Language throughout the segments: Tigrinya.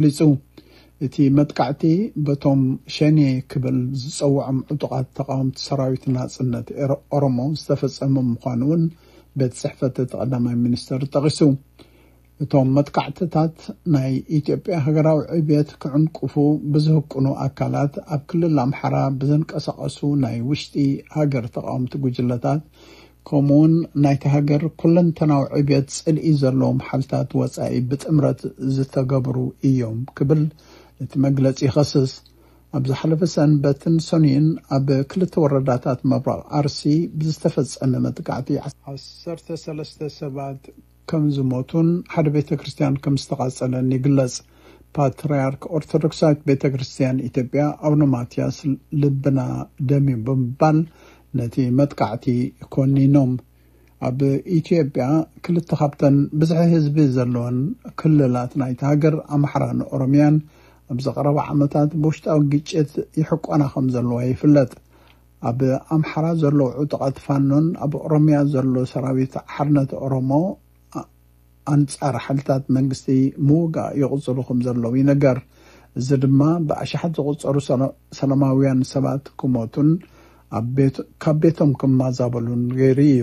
ገሊጹ። እቲ መጥቃዕቲ በቶም ሸኔ ክብል ዝጸውዖም ዕጡቓት ተቓወምቲ ሰራዊት ናጽነት ኤሮ- ኦሮሞ ዝተፈጸመ ምዃኑ እውን ቤት ጽሕፈት እቲ ቀዳማይ ሚኒስተር ጠቒሱ። እቶም መጥቃዕትታት ናይ ኢትዮጵያ ሃገራዊ ዕብየት ክዕንቅፉ ብዝህቅኑ ኣካላት ኣብ ክልል ኣምሓራ ብዝንቀሳቐሱ ናይ ውሽጢ ሃገር ተቓወምቲ ጉጅለታት፣ ከምኡውን ናይቲ ሃገር ኩለንተናዊ ዕብየት ጽልኢ ዘለዎም ሓይልታት ወጻኢ ብጥምረት ዝተገብሩ እዮም ክብል እቲ መግለጺ ይኸስስ። ኣብ ዝሓለፈ ሰንበትን ሰኑይን ኣብ ክልተ ወረዳታት ምብራቕ ኣርሲ ብዝተፈጸመ መጥቃዕቲ ዓሰርተ ሰለስተ ሰባት ከም ዝሞቱን ሓደ ቤተ ክርስቲያን ከም ዝተቓጸለን ይግለጽ። ፓትርያርክ ኦርቶዶክሳዊት ቤተ ክርስቲያን ኢትዮጵያ ኣቡነ ማትያስ ልብና ደምዩ ብምባል ነቲ መጥቃዕቲ ኮኒኖም። ኣብ ኢትዮጵያ ክልተ ካብተን ብዝሒ ህዝቢ ዘለወን ክልላት ናይቲ ሃገር ኣምሓራን ኦሮምያን ኣብ ዝቐረባ ዓመታት ብውሽጣዊ ግጭት ይሕቆና ከም ዘለዋ ይፍለጥ። ኣብ ኣምሓራ ዘለዉ ዕጡቓት ፋኖን ኣብ ኦሮምያ ዘሎ ሰራዊት ሓርነት ኦሮሞ ኣንጻር ሓይልታት መንግስቲ ምውጋእ ይቕጽሉ ከም ዘለዉ ይነገር። እዚ ድማ ብኣሽሓት ዝቑጸሩ ሰላ- ሰላማውያን ሰባት ክሞቱን ኣብ ቤት- ካብ ቤቶም ክማዛበሉን ገይሩ እዩ።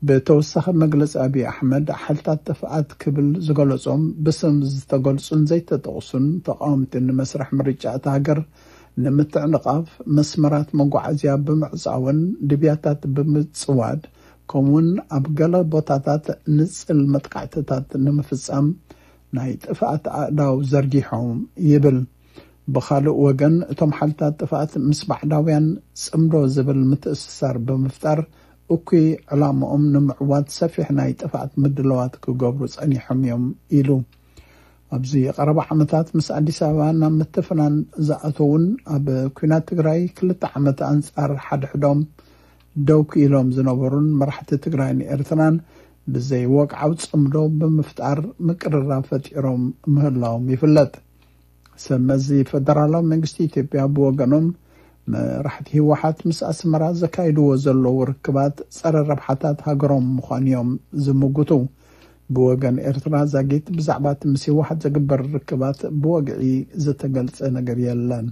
ብተወሳኺ መግለጺ ኣብይ ኣሕመድ ሓይልታት ጥፍኣት ክብል ዝገለጾም ብስም ዝተገልጹን ዘይተጠቕሱን ተቓወምቲ ንመስርሕ ምርጫ እታ ሃገር ንምትዕንቓፍ መስመራት መጓዓዝያ ብምዕጻውን ድብያታት ብምጽዋድ ከምኡውን ኣብ ገለ ቦታታት ንጽል መጥቃዕትታት ንምፍጻም ናይ ጥፍኣት ኣእዳው ዘርጊሖም ይብል። ብኻልእ ወገን እቶም ሓይልታት ጥፍኣት ምስ ባዕዳውያን ጽምዶ ዝብል ምትእስሳር ብምፍጣር እኩይ ዕላምኦም ንምዕዋት ሰፊሕ ናይ ጥፍኣት ምድለዋት ክገብሩ ጸኒሖም እዮም ኢሉ። ኣብዚ ቀረባ ዓመታት ምስ ኣዲስ ኣበባ ናብ ምትፍናን ዝኣተውን ኣብ ኲናት ትግራይ ክልተ ዓመት ኣንጻር ሓድሕዶም ደው ክኢሎም ዝነበሩን መራሕቲ ትግራይን ኤርትራን ብዘይ ወግዓዊ ጽምዶ ብምፍጣር ምቅርራብ ፈጢሮም ምህላዎም ይፍለጥ። ሰብ መዚ ፈደራላዊ መንግስቲ ኢትዮጵያ ብወገኖም መራሕቲ ህወሓት ምስ ኣስመራ ዘካይድዎ ዘለዉ ርክባት ጸረ ረብሓታት ሃገሮም ምዃኑ እዮም ዝምጉቱ። ብወገን ኤርትራ ዛጊት ብዛዕባ እቲ ምስ ህወሓት ዘግበር ርክባት ብወግዒ ዝተገልጸ ነገር የለን።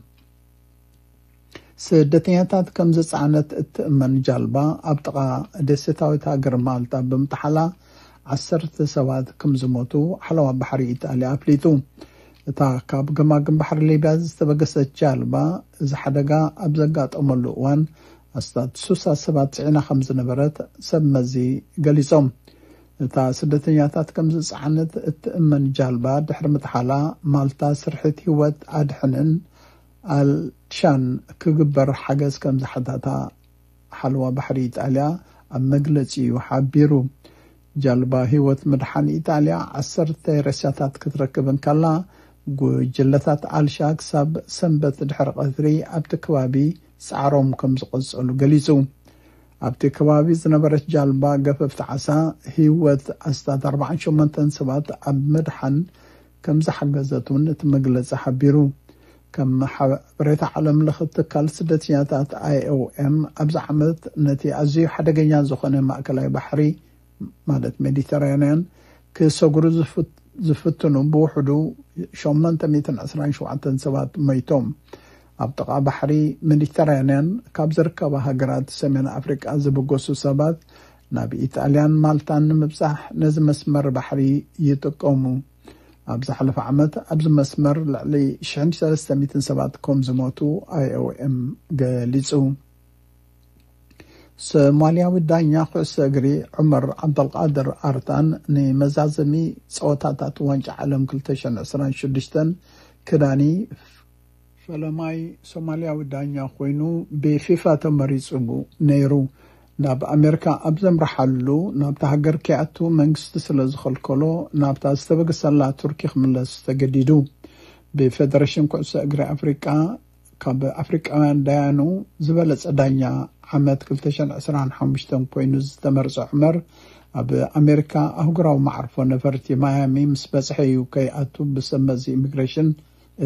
ስደተኛታት ከም ዝጸዓነት እትእመን ጃልባ ኣብ ጥቓ ደሴታዊት ሃገር ማልታ ብምጥሓላ ዓሰርተ ሰባት ከም ዝሞቱ ሓለዋ ባሕሪ ኢጣልያ ኣፍሊጡ። እታ ካብ ገማግም ባሕሪ ሊብያ ዝተበገሰት ጃልባ እዚ ሓደጋ ኣብ ዘጋጠመሉ እዋን ኣስታት ስሳ ሰባት ጽዒና ከም ዝነበረት ሰብ መዚ ገሊጾም። እታ ስደተኛታት ከም ዝጸዓነት እትእመን ጃልባ ድሕሪ ምጥሓላ ማልታ ስርሒት ህይወት ኣድሕንን ኣልሻን ክግበር ሓገዝ ከም ዝሓታታ ሓለዋ ባሕሪ ኢጣልያ ኣብ መግለጺኡ ሓቢሩ። ጃልባ ህይወት ምድሓን ኢጣልያ ዓሰርተ ሬሳታት ክትረክብ እንከላ፣ ጉጅለታት ኣልሻ ክሳብ ሰንበት ድሕሪ ቀትሪ ኣብቲ ከባቢ ጻዕሮም ከም ዝቐጸሉ ገሊጹ። ኣብቲ ከባቢ ዝነበረት ጃልባ ገፈፍቲ ዓሳ ህይወት ኣስታት ኣርባዓን ሸሞንተን ሰባት ኣብ ምድሓን ከም ዝሓገዘት እውን እቲ መግለጺ ሓቢሩ። ከም ሓበሬታ ዓለም ለኸ ትካል ስደተኛታት ኣይኦኤም ኣብዚ ዓመት ነቲ ኣዝዩ ሓደገኛ ዝኾነ ማእከላይ ባሕሪ ማለት ሜዲተራንያን ክሰግሩ ዝፍት- ዝፍትኑ ብውሕዱ ሸሞንተ ሚእትን ዕስራን ሸውዓተን ሰባት ሞይቶም። ኣብ ጥቓ ባሕሪ ሜዲተራንያን ካብ ዝርከባ ሃገራት ሰሜን ኣፍሪቃ ዝብገሱ ሰባት ናብ ኢጣልያን ማልታን ንምብጻሕ ነዚ መስመር ባሕሪ ይጥቀሙ። ኣብ ዝሓለፈ ዓመት ኣብዚ መስመር ልዕሊ ሽሕን ሰለስተ ሚእትን ሰባት ከም ዝሞቱ ኣይኦኤም ገሊጹ። ሶማልያዊ ዳኛ ኩዕሶ እግሪ ዑመር ዓብደልቃድር ኣርታን ንመዛዘሚ ጸወታታት ዋንጫ ዓለም ክልተ ሽሕን ዕስራን ሽዱሽተን ክዳኒ ፈለማይ ሶማልያዊ ዳኛ ኮይኑ ብፊፋ ተመሪጹ ነይሩ። ናብ ኣሜሪካ ኣብ ዘምርሓሉ ናብታ ሃገር ከይኣቱ መንግስቲ ስለ ዝኸልከሎ ናብታ ዝተበገሰላ ቱርኪ ክምለስ ተገዲዱ። ብፌደሬሽን ኩዕሶ እግሪ ኣፍሪቃ ካብ ኣፍሪቃውያን ዳያኑ ዝበለጸ ዳኛ ዓመት ክልተ ሽሕን ዕስራን ሓሙሽተን ኮይኑ ዝተመርጸ ዑመር ኣብ ኣሜሪካ ኣህጉራዊ መዓርፎ ነፈርቲ ማያሚ ምስ በጽሐ እዩ ከይኣቱ ብሰብ መዚ ኢሚግሬሽን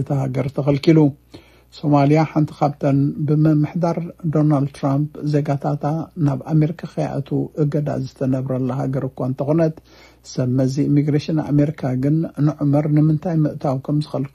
እታ ሃገር ተኸልኪሉ። ሶማልያ ሓንቲ ካብተን ብምምሕዳር ዶናልድ ትራምፕ ዜጋታታ ናብ ኣሜሪካ ከይኣቱ እገዳ ዝተነብረላ ሃገር እኳ እንተኾነት፣ ሰብ መዚ ኢሚግሬሽን ኣሜሪካ ግን ንዑመር ንምንታይ ምእታው ከም ዝኸልከሉ